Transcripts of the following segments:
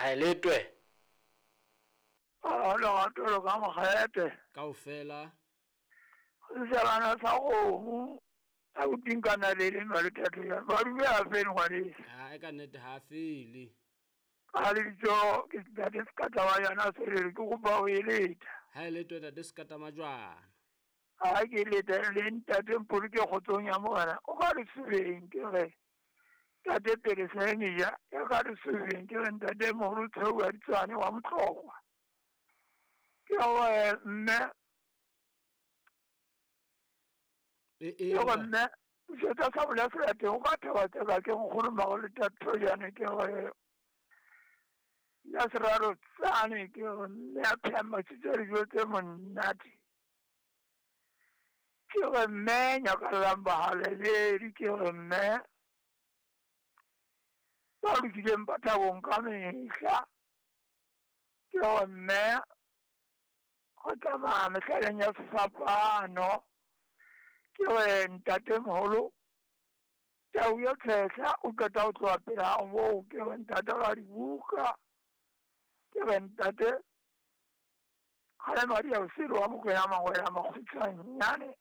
Ha e letwe. A lerato le ka mokgete. Kaofela. Sejana sa kgomo. A botinkana le le nwa le thato ya. Ba dule a fele ngwaneso. Ha e ka nnete ha fele. Ka lebitso ke ntate Sekata wa yona Serere ke kopa ho e leta. Ha e letwe ntate Sekata Majwana. Ha ke leta le ntate Mpoloke kgotsong ya Morena. O ka re sebeng ke re ntate pele Seneja ya ka re sebeng ke re ntate moholo Tshweu wa Ditswane wa Motlokwa. Ke re mme E ke re mme setsa sa bola se teng o ka thaba tseka ke nkgono mago le tathojane ke re ya seraro tsane ke re mme a pheha masitse dijo tse monate. Ke re mme nyakallang bahalaledi ke re mme ba lokileng ba thabong ka mehla. Ke re mme go tsamaya mehlaleng ya sefapano. Ke re ntate moholo tau ya tshehla o qeta ho tloha pele ha moo. Ke re ntate ra dibuka. Ke re ntate Kgalemadi ya Bosele wa Mokwena Mangwele a makgutshwanyane.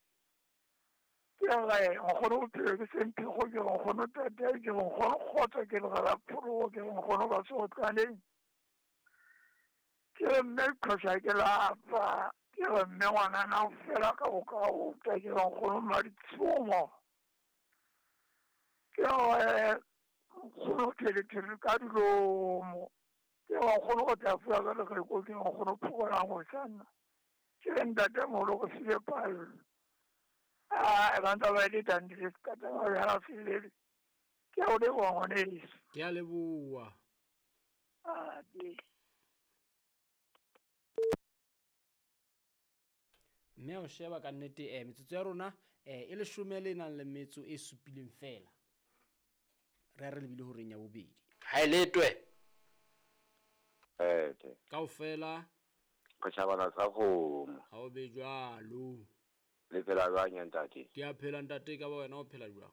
Ke re nkgono bophelo ke semphego ke re nkgono tate ke re nkgono kgotso ke legala phologo ke re nkgono ba sotlaneng. Ke re mme qhosha ke lapa. Ke re mme ngwanana o fela ka bokaota ke re nkgono Maditshomo. Ke re nkgono thelethele ka dilomo. Ke re nkgono go tla fuwa ka lereko ke re nkgono phokolang go sanna. Ke re ntate moholo go file pallo. A e bantsa ba le tandile Sekata Majwana Selele. Ke a o leboha ngwaneso. Ke a leboha. A ke. Mme o sheba ka nnete metsotso ya rona e leshome le nang le metso e supileng fela. Re re lebile horeng ya bobedi. Ha e letwe. Ete. Kaofela. Re tjhabana sa kgomo. Ha o be jwalo. Le phela jwang ya ntate? Ke a phela ntate, ka ba wena o phela jwang?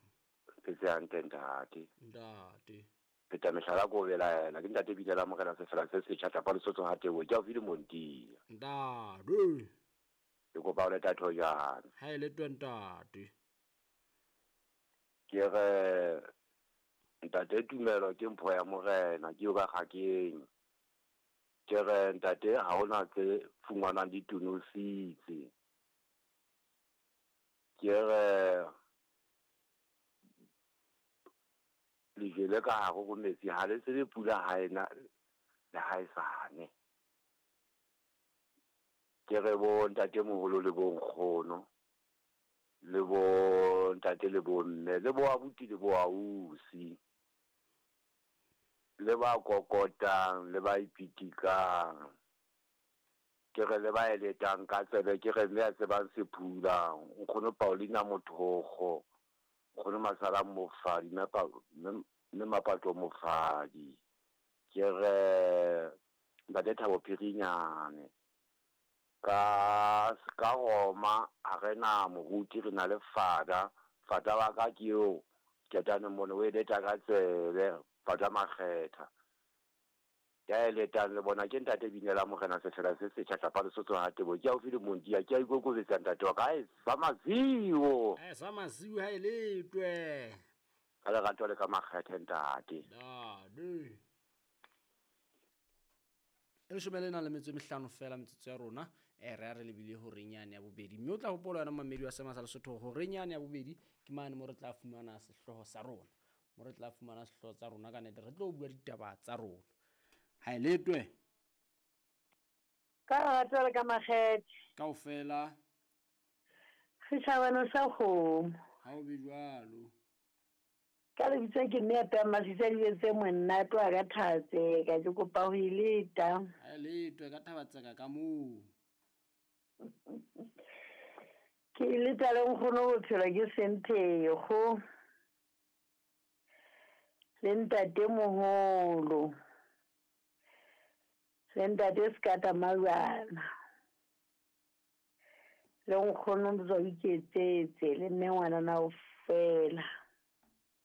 Phetse hantle ntate. Ntate. Pheta mehlala ko belaela. Ke ntate bile la morena sefela se setjha tlapa Lesotho ha tebo. Ke haufi le Montia. Ntate. Ke kopa o le tatho jwang? Ha e le twe ntate. Ke re ntate tumelo ke mpho ya morena ke yo ka kgakeng. Ke re ntate ha hona tse fungwanang di tunositse. Ke re lejwe le ka hare ho metsi ha le tsebe pula ha ena le ha e sane. Ke re bo ntate moholo le bo nkgono le bo ntate le bo mme le bo abuti le bo ausi le ba kokotang le ba ipitikang. Ke re le ba eletang ka tsebe ke re mme a tsebang sephula nkgono Paulina Mothogo nkgono Masala Mofadi mme Mapato Mofadi. Ke re ntate Thabo Phirinyane ka Roma ha re na moruti re na le fada. Fada wa ka ke eo ketane mone o eleta ka tsebe fada Makgetha. Ya eletang le bona ke ntate binela morena sefela se setjha tlapa Lesotho ha tebo. Ke haufi le Montia ke a ikokobetsa ntate wa ka. Sa maziwo. Sa maziwo ha e letwe. Ka lerato le ka makgethe ntate. Ntate. E leshome le nang le metso e mehlano fela metsotso ya rona re a re lebile horeng yane ya bobedi. Mme o tla hopola wena mamedi wa Sema sa Lesotho horeng yane ya bobedi ke mane mo re tla fumana sehlooho sa rona. Mo re tla fumana sehlooho tsa rona ka nnete re tlo bua ditaba tsa rona. Ha e letwe. Ka lerato le ka makgethe. Kaofela. Setjhabana sa kgomo. Ha o be jwalo. Ka lebitso ke mme a pheha masitsa dijo tse monate wa ka Thabatseka. Ke kopa ho e leta. Ha e letwe ka Thabatseka ka moo. Ke e leta le nkgono bophelo ke Semphego. Le ntate moholo. Le ntate Sekata Majwana. Le nkgono Mzwa Iketsetse le mme ngwanana o fela.